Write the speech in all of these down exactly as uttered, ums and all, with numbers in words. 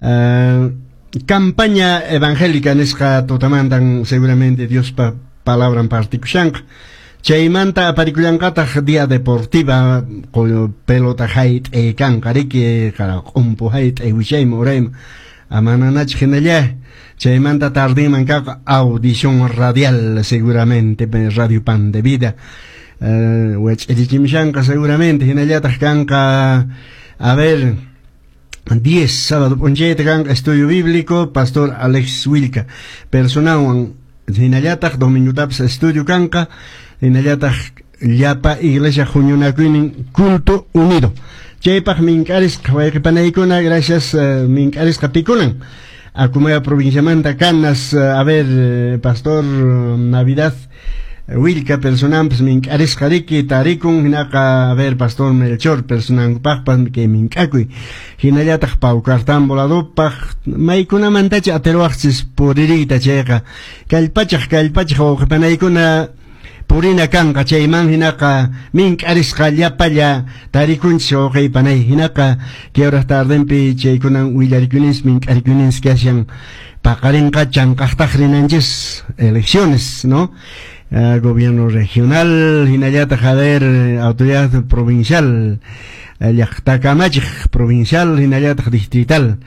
Uh, campaña evangélica nisqa tutamantan seguramente Diospa palabran partikushanqa. Chaymanta aparikullanqataq día deportiva, pelota hayt'ay kanqa riki, q'umpu hayt'ay wichayman urayman amananachik hinalla. Chaymanta tardinman kaq audición radial, seguramente Radio Pan de Vida uh, wach'irichimushanqa seguramente. Hinallataq kanqa, a ver, diez, sábado p'unchayta kanqa estudio bíblico, Pastor Alex Wilka personawan. Hinallataq domingotapis estudio kanqa. Hinallataq llapa iglesia huñunakuynin culto unido. Chaypaq mink'arisqa wayqipanaykuna, gracias, uh, mink'arisqa pikunan Akumaya provinciamanta Canas, uh, a ver, uh, Pastor Navidad Wilka personanpas mink'arisqa riki tarikun. Hinaqa, a ver, Pastor Melchor personankupaqpas kay mink'akuy. Hinallataq Paucartambo ladupaq maykunamantacha atiruwaqchis puririyta, chayqa kallpachaq kallpachaq wawqipanaykuna purina kanqa chayman. Hinaqa mink'arisqa llapalla tarikunchis, wawqiypanay. Hinaqa kay horas tardenpi chaykunan willarikunis, mink'arikunis kashan. Paqarinqa chanqaqtaq rinanchis elecciones, ¿no? Uh, gobierno regional, hinallataq, a ver, autoridad provincial, llaqta kamachiq provincial hinallataq distrital.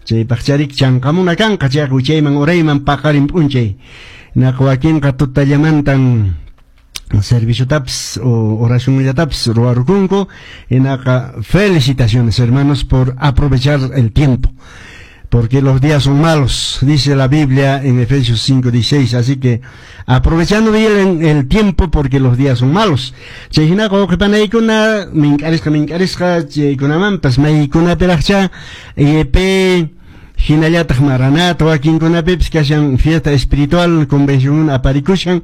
Chaypaqcharik chanqamuna kanqa chayqa wichayman urayman paqarin p'unchay. Hinaqa wakinqa tutallamantan serviciotapis o oracionllatapis ruwarukunku. Hinaqa felicitaciones, hermanos, por aprovechar el tiempo, porque los días son malos, dice la Biblia en Efesios cinco dieciséis. Así que aprovechando bien el tiempo, porque los días son malos. Chay hinaqa wawqipanaykuna mink'arisqa mink'arisqa chaykunamanpas maykunapiraqcha I P hinallataq Maranata wakinkunapipis kashan fiesta espiritual, convención aparikushan.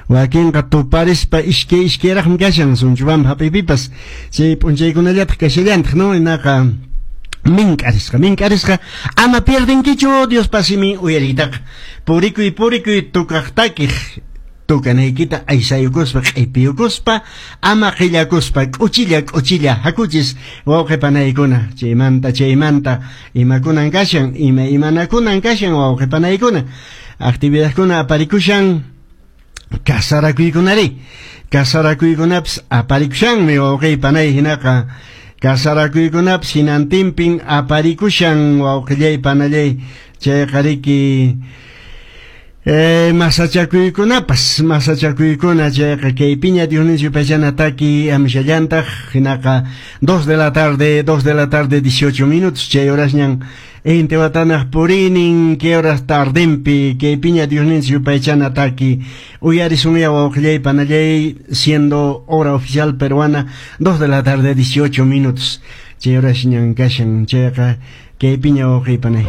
Wakinqa tuparispa iskay iskayraqmi kashan Sunchubampa hap'iypipas chay p'unchaykunallataq kashallantaq, no? Hinaqa mink'arisqa mink'arisqa ama pierdenkichu Diospa simin uyariytaqa. Purikuy purikuy tukaq takiq tukanaykita aysayukuspa, q'ipiyukuspa, ama qillakuspa, k'uchilla k'uchilla hakuchis, wawqipanaykuna. Chaymanta chaymanta imakunan kashan, ima imanakunan kashan, wawqipanaykuna, actividadkuna aparikushan. Kasarakuykunari, kasarakuykunapis aparikushanmi, wawqipanay. Hinaqa kasarakuykunapis hinantinpin aparikushan, wawqillay panallay. Chayqa riki eh, masachakuykunapas, masachakuykuna. Chayqa kaypiña Dionisio Pachana taki amishallantaq. Hinaqa dos de la tarde, dos de la tarde dieciocho minutos, chay horasñan Intihuatanaq purinin kay horas tardenpi. Kaypiña Dionisio Pachana taki uyarisunya, wawqillay panallay, siendo hora oficial peruana dos de la tarde dieciocho minutos, chay horasñan kashan. Chayqa kaypiña, wawqiy panay.